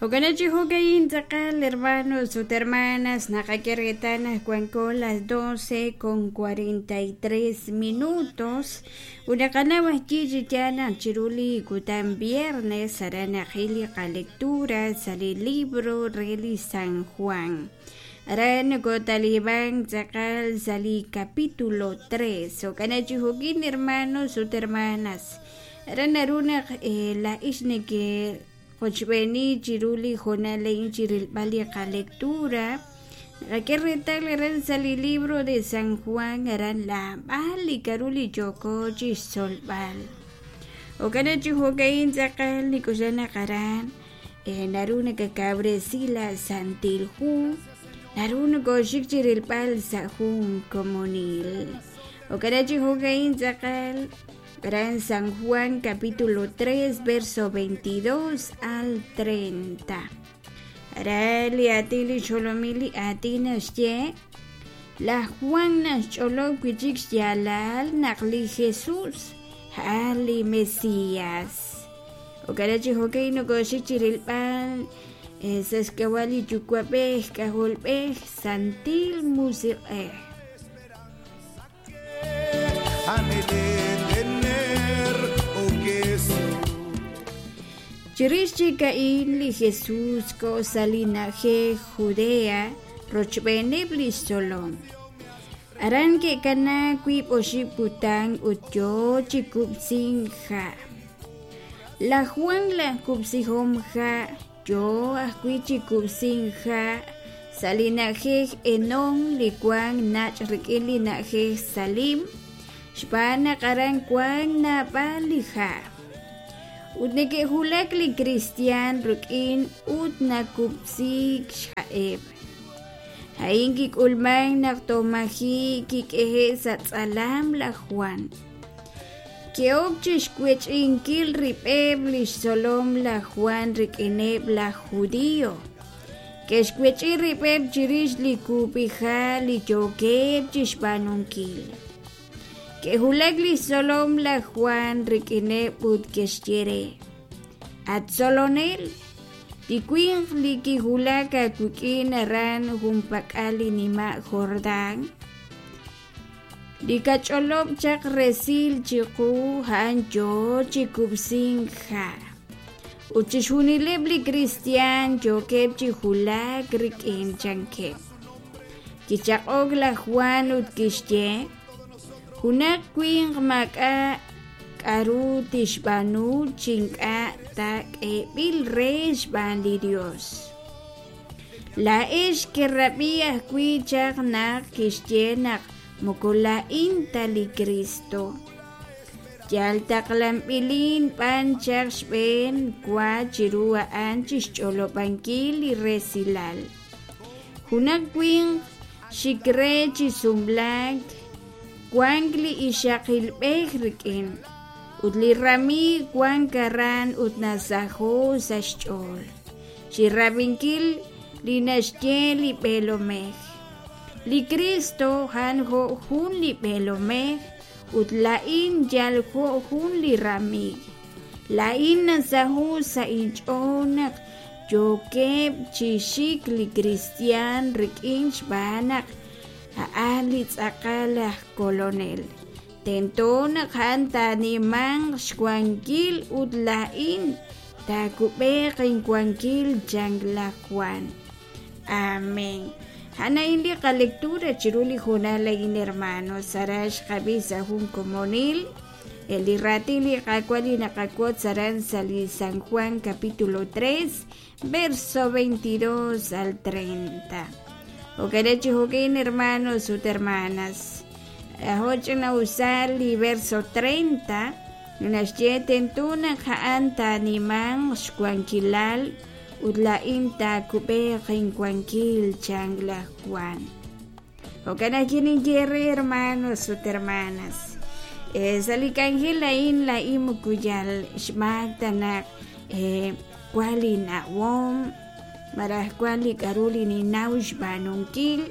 Jo'kan chi jo'ka'in tz'aqal hermanos ut hermanas naqak'e reetal naq wanko las 12 con 43 minutos ut naqanaw ajwi' chi yaal naq chiru li kutan viernes aran naqil li qalectura sa' li libro re li San Juan. Aran nokotaliban tz'aqal sa' li capítulo 3. Jo'kan chi jo'kin hermanos ut hermanas aran naru naq laa'ix neke qochb'eeni chiru li hoonal a'in chi rilb'al li qalectura naqak'e reetal aran sa' li libro de San Juan aran naab'al li k'aru li yooko chi xtzolb'al. Jo'kan chi jo'ka'in tz'aqal nik'oxla naq aran naru nakakawresi la Santil Hu naru nokooxik chi rilb'al sa' jun komonil. Jo'kan chi jo'ka'in tz'aqal Gran San Juan capítulo 3 verso 22 al 30. Ara li aatin li xjolomil li aatin naxye laj Juan naxch'olob' wi' chik xyaalal naq li Jesús a'an li Mesías. Jo'kan chi jo'kan nokooxik chi rilb'al sa' xk'ab'a' li Yuwa'b'ej, K'ajolb'ej, Santil Musiq'ej. Chirix chik a'in li Jesús koho sa' li na'ajej Judea rochb'eeneb' li xtzolom. Aran ke'kanaak wiib' oxib' kutan ut yo chi kub'sink ha'. Laj Jwan laj kub'sihom ha' yo ajwi' chi kub'sink ha' sa' li na'ajej Enón li wank nach' rik'in li na'ajej Salim, xb'aan naq aran wank naab'al li ha'. Ut neke'wulak li kristiyan rik'in ut nakub'siik xha'eb'. A'in kik'ulmank naq toj maji' kik'ehe'k sa' tz'alam laj Jwan. Ke'ok chi xwech'inkil rib'eb' li xtzolom laj Jwan rik'ineb' laj Judío. Ke'xwech'i rib'eb' chirix li kub'iha' li yookeb' chi xb'aanunkil. Ke'wulak li xtzolom laj Jwan rik'ineb' ut ke'xye re: At Tzolonel, li winq li kiwulak aawik'in aran junpak'al li nima' Jordán, Li kach'olob' chaq resil chiqu a'an yoo chi kub'sink ha', ut chixjunileb' li kristiaan yookeb' chi wulak rik'in, chankeb'. Kichaq'ok laj Jwan ut kixye, Junaq winq maak'a' k'aru tixb'aanu chi ink'a' ta k'eeb'il re xb'aan li Yos. Laa'ex kerab'i ajwi' chaq naq kixye naq moko laa'in ta li Kristo. Yal taqlanb'ilin b'an chaq xb'een wa chiru a'an chi xch'olob'ankil li resilal. Junaq winq xik re chi sumlaak wank li ixaqilb'ej rik'in, ut li ramiiw wank aran ut nasaho sa' xch'ool. Chi rab'inkil li naxye li b'eelomej. Li Kristo a'an jo' jun li b'eelomej ut laa'in yal jo' jun li ramiiw. Laa'in nasaho sa' inch'ool naq yookeb' chi xik li kristiaan rik'in xb'aan naq a'an li tz'aqal aj Kolonel. Tento naq a'an taanimanq xwankil ut laa'in taakub'eeq inwankil, chan laj Jwan. Amén. A'an a'in li qalectura chiru li hoonal a'in, hermanos. Aran xqab'i sa' jun komonil li raatin li Qaawa' li naqawotz aran sa' li San Juan capítulo 3, verso 22 al 30. Jo'kan chi jo'kin, hermanos ut hermanas. Ajo' ch'ina'usal li verso 30 naxye tento naq a'an taanimanq xwankilal ut laa'in taakub'eeq inwankil, chan laj Jwan. Jo'kan ajwi' ninye re hermanos ut hermanas, sa' li k'anjel a'in laa'in moko yal xmaak ta naq wan li nawom malaj wan li k'a'ru li ninnaw xb'aanunkil.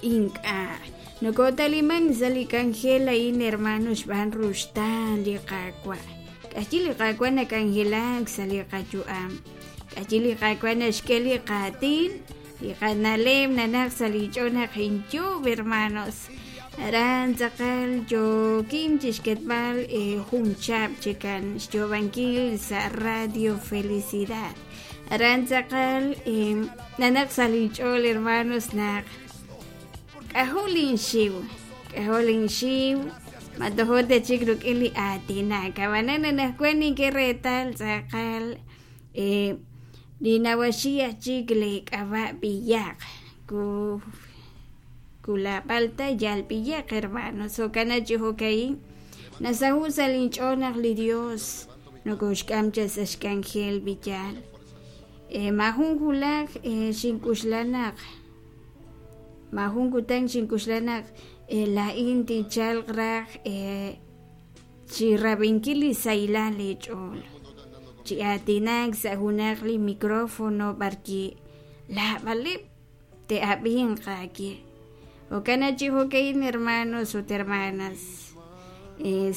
Ink'a'. Nokotaliman sa' li k'anjel a'in, hermano, xb'aan ruxtaan li Qaawa'. K'axyi li Qaawa' nak'anjelak sa' li qayu'am. K'ayi li Qaawa' naxk'e li qaatin, li qana'leb' nanaq sa' li ch'ool naq inyuub' hermanos. Aran tz'aqal yookin chixketb'al jun chab' chikan xyoob'ankil sa' Radio Felicidad. Aran tz'aqal nanaq sa' li ch'ool hermanos naq k'ajo' linxiw, k'ajo' linxiw, ma tojo ta chik rik'in li aatinak. Ab'anan anaqwan nink'e reetal tz'aqal li nawaxi aj chik li k'ab'a' b'iyaq ku kulab'al ta yal b'iyaq hermanos. Jo'kan chi jo'ka'in nasaho' sa' linch'ool naq li Dios nokoxk'am chaq sa' xk'anjel b'iyal. Maajun wulaj xink'uxla naq maajun kutan xink'uxla naq laa'in tinchalq raj chi rab'inkil li sahilal eech'ool, chi aatinak sa' junaq li micrófono b'arwi' laab'aleb' te'ab'inq aawe. Jo'kan chi jo'ka'in hermanos ut hermanas,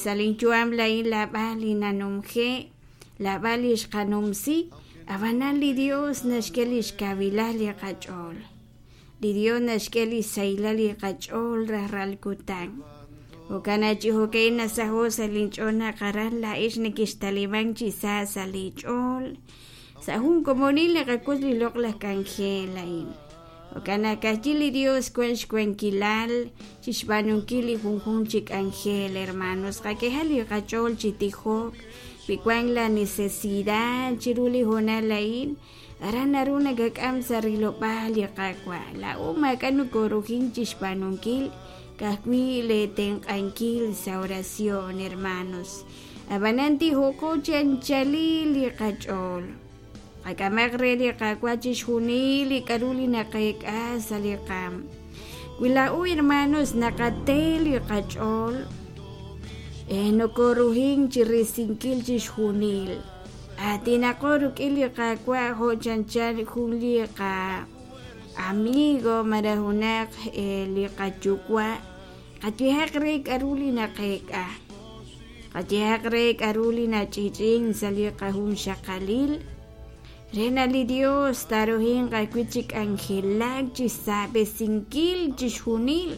sa' linyu'am laa'in laab'al li nanumje', laab'al li xqanumsi, ab'anan li Dios naxk'e li xkawilal li qach'ool. Li Dios naxk'e li xsahilal li qach'ool rajlal kutan. Jo'kan chi jo'ka'in nasaho' sa' linch'ool naq aran laa'ex nekextalimank chi sa sa' leech'ool. Sa' jun komonil naqak'ut li loq'laj k'anjel a'in. Jo'kan naq ka'ajwi' li Dios wank xwankilal chi xb'aanunkil li junjunq chi k'anjel, hermanos. Qak'ehaq li qach'ool chi tijok wi wank la necesidad chiru li hoonal a'in. Aran naru nakak'am sa' rilob'aal li Qaawa'. Laa'o maak'a' nokoorujink chi xb'aanunkil, ka'ajwi' leetenq'ankil sa' oración, hermanos. Ab'anan tijoqo chi anchalil li qach'ool. Qak'amaq re li Qaawa' chixjunil li k'aru li naqeek'a sa' li qaanm. Wi laa'o hermanos naqate li qach'ool, nokoorujink chi risinkil chixjunil. Aatinaqo rik'in li Qaawa' jo' chanchan jun li qa-amigo malaj junaq li qayuwa'. Qayehaq re k'aru li naqeek'a, qayehaq re k'aru li nach'i'ch'i'ink sa' li qajunxaqalil, re naq li Dios taaruhinq ajwi' chi k'anjelak chi xsaab'esinkil chixjunil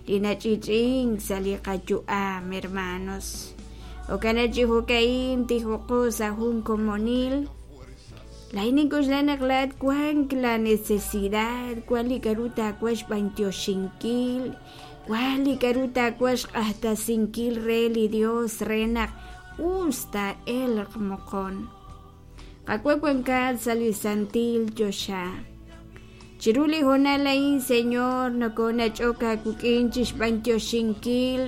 li nach'i'ch'i'ink sa' li qayu'am, hermanos. Jo'kan chi jo'ka'in tijoqo sa' jun komonil. Laa'in nink'oxla naq laa'at wank la necesidad, wank li k'aru taawaj xb'anyoxinkil, wank li k'aru taawaj xq'axtesinkil re li Dios re naq us taa'elq moqon. Qaawa' wankat sa' li santil choxa. Chiru li hoonal a'in, Señor, nokonach'ok aawik'in chi xb'anyoxinkil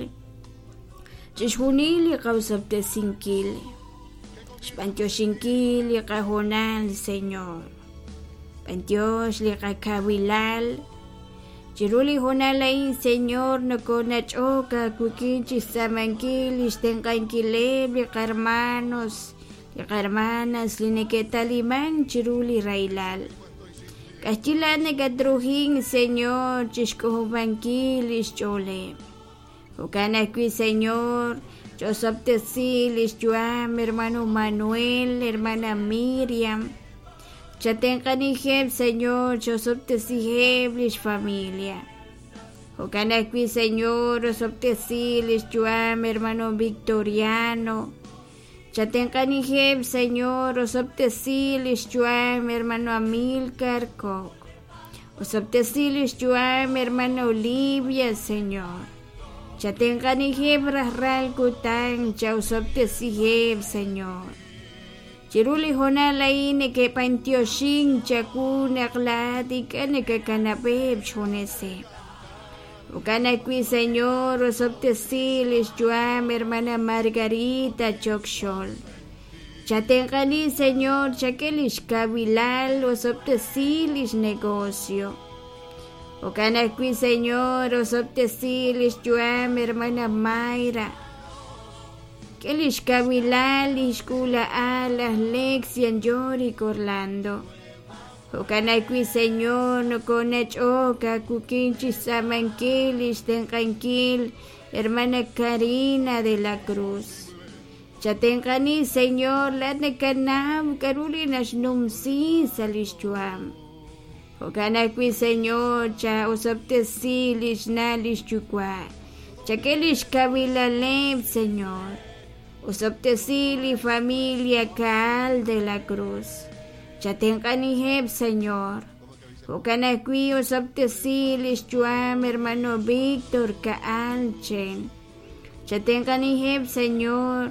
chixjunil li qaosob'tesinkil, xb'anyoxinkil li qahoonal, Señor. B'antiox li qakawilal. Chiru li hoonal a'in, Señor, nokonach'ok aawik'in chi xtz'aamankil li xtenq'ankileb' li qarmanos, li qarmanas li neke'talimank chiru li rahilal. K'axyi laa'at nakatruhink, Señor, chi xk'ojob'ankil li xch'ooleb'. Jo'kan ajwi', Señor, ch'osob'tesi li xyu'am hermano Manuel, hermana Miriam. Chatenq'anijeb', Señor, ch'osob'tesiheb' li xfamilia. Jo'kan ajwi', Señor, osob'tesi li xyu'am hermano Victoriano. Chatenq'anijeb', Señor, osob'tesi li xyu'am hermano Amilcar Koch. Osob'tesi li xyu'am hermana Olivia, Señor. Chatenq'anijeb' rajlal kutan, chaosob'tesiheb', Señor. Chiru li hoonal a'in neke'b'antioxink chawu naq laa'at ink'a' nakakanab'eb' xjuneseb'. Jo'kan ajwi', Señor, osob'tesi li xyu'am hermana Margarita Chokxol. Chatenq'ani, Señor, chak'e li xkawilal, osob'tesi li xnegocio. Jo'kan ajwi', Señor, osob'tesi li xyu'am hermana Mayra. K'e li xkawilal li xk'uula'al laj Lexian Yorick Orlando. Jo'kan ajwi', Señor, nokonach'ok aawik'in chi xtz'aamankil li xtenq'ankil hermana Karina de la Cruz. Chatenq'ani, Señor, laa'at nakanaw k'a'ru li naxnumsi sa' lix yu'am. Jo'kan ajwi', Señor, cha'osob'tesi lix na' lix yuwa'. Chak'e lix kawilaleb', Señor. Osob'tesi li familia Caal de la Cruz. Chatenq'aniheb', Señor. Jo'kan ajwi' osob'tesi lix yu'am hermano Víctor Caal Chen. Chatenq'aniheb', Señor.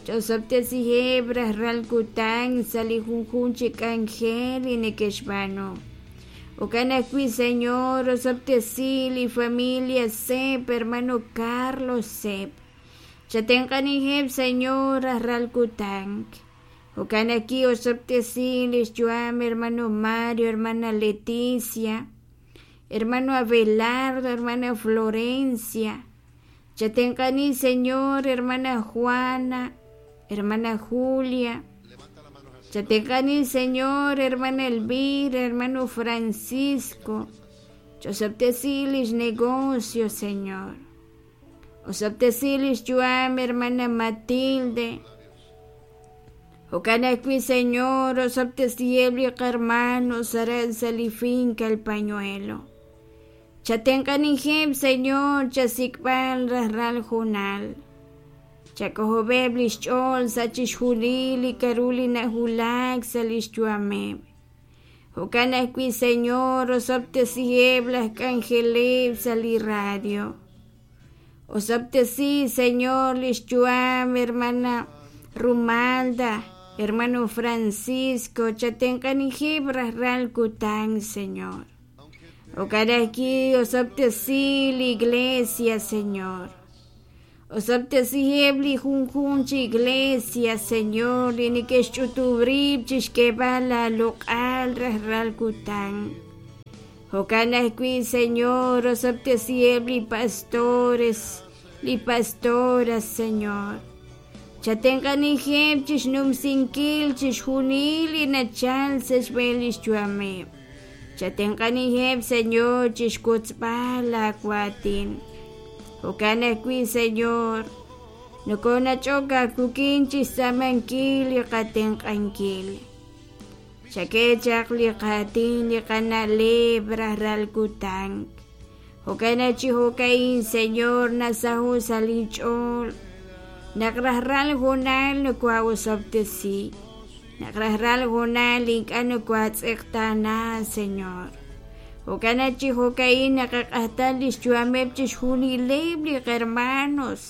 Ch'osob'tesiheb' rajlal kutan sa' li junjunq chi k'anjel li neke'xb'aanu. Jo'kan ajwi', Señor, osob'tesi li familia Sepp, hermano Carlos Sepp. Chatenq'aniheb', Señor, rajlal kutan. Jo'kan ajwi' osob'tesi lix yu'am hermano Mario, hermana Leticia, hermano Abelardo, hermana Florencia. Chatenq'ani, Señor, hermana Juana, hermana Julia. Chatenq'ani, Señor, hermana Elvira, hermano Francisco. Ch'osob'tesi lix negocio, Señor. Osob'tesi lix yu'am, hermana Matilde. Jo'kan ajwi', Señor, osob'tesiheb' li qarmanos aran sa' li finca El Pañuelo. Chatenq'aniheb', Señor, chasik'b'al rajlal hoonal. Chak'ojob'eb' lix ch'ool sa' chixjunil li k'a'ru li nawulak sa' lix yu'ameb'. Jo'kan ajwi', Señor, osob'tesiheb' laj k'anjeleb' sa' li radio. Osob'tesi, Señor, lix yu'am hermana Rumalda, hermano Francisco, chatenq'aniheb' rajlal kutan, Señor. Jo'kan ajwi' osob'tesi li iglesia, Señor. Osob'tesiheb' li junjunq chi iglesia, Señor, li neke'xch'utub' rib' chixk'eeb'al aaloq'al rajlal kutan. Jo'kan ajwi', Señor, osob'tesiheb' li pastores, li pastoras, Señor. Chatenq'aniheb' chixnumsinkil chixjunil li nachal sa' xb'een lix yu'ameb'. Chatenq'aniheb', Señor, chixwotzb'al laa waatin. Jo'kan ajwi', Señor, nokonach'ok aawik'in chixtz'aamankil li qatenq'ankil. Chak'e chaq li qaatin, li qana'leb' rajlal kutan. Jo'kan naq chi jo'ka'in, Señor, nasaho' sa' linch'ool naq rajlal hoonal nokohaa'osob'tesi, naq rajlal hoonal ink'a' nokohaatz'eqtaana, Señor. Jo'kan naq chi jo'ka'in naqaq'ajta lix yu'ameb' chixjunileb' li qhermanos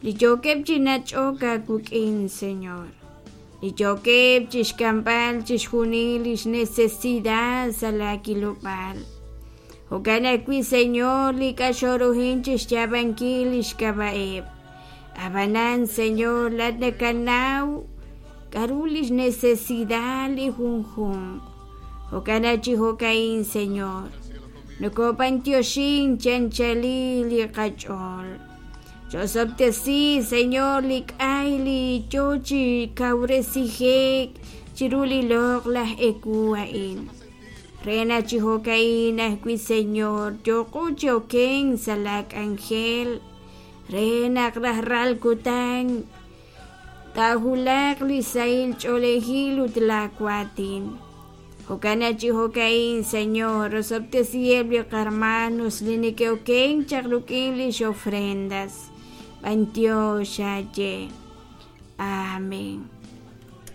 li yookeb' chi nach'ok aawik'in, Señor, li yookeb' chixk'amb'al chixjunil lix necesidad sa' laa kilob'aal. Jo'kan ajwi', Señor, li k'axoruhin chi xyaab'ankil li xk'ab'a'eb'. Ab'anan, Señor, laa'at nakanaw k'aru li xnecesidad li junjunq. Jo'kan naq chi jo'ka'in, Señor, nokob'antioxink chi anchalil li qach'ool. Chosob'tesi, Señor, li k'ay li yo chi kawresije'k chiru li loq'laj ewu a'in. Re naq chi jo'ka'in ajwi', Señor, yooqo chi okenk sa' laa k'anjel, re naq rajlal kutan taawulaq li sahil ch'oolejil ut laa waatin. Jo'kan naq chi jo'ka'in, Señor, osob'tesiheb' li qarmanos li neke'okenk chaq rik'in lix ofrendas. B'antiox aaye. Amén.